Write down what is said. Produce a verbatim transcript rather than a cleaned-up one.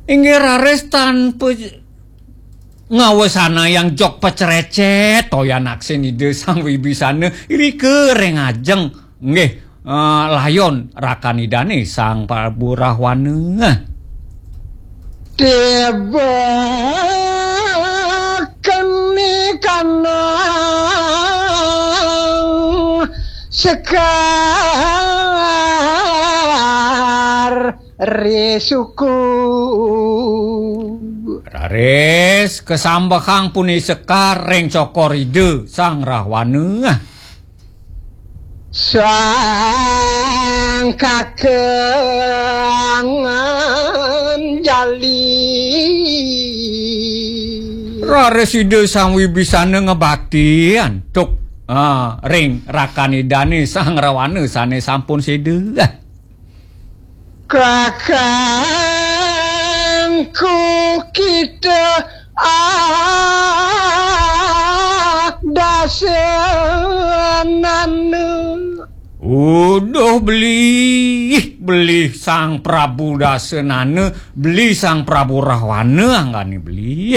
Inggih raris tanpa ngawesanayang jog pacrecet, toyan aksin Ida Sang Wibisana irika ring ajeng. Nggih, eh, layon rakan Idane Sang Prabu Rahwana. Tiba keni kanang Sekar Risuku. Raris kasambehang puni Sekar ring cokor Ida Sang Rahwana. Sang Kakang Jali. Raris Ida Sang Wibisana ngabaktian tuk, ah, ring rakan Idane Sang Rahwana sane sampun seda. Kakangku kita ah dasanana. Uduh beli, beli Sang Prabu Dasanana, beli Sang Prabu Rahwana anggane beli.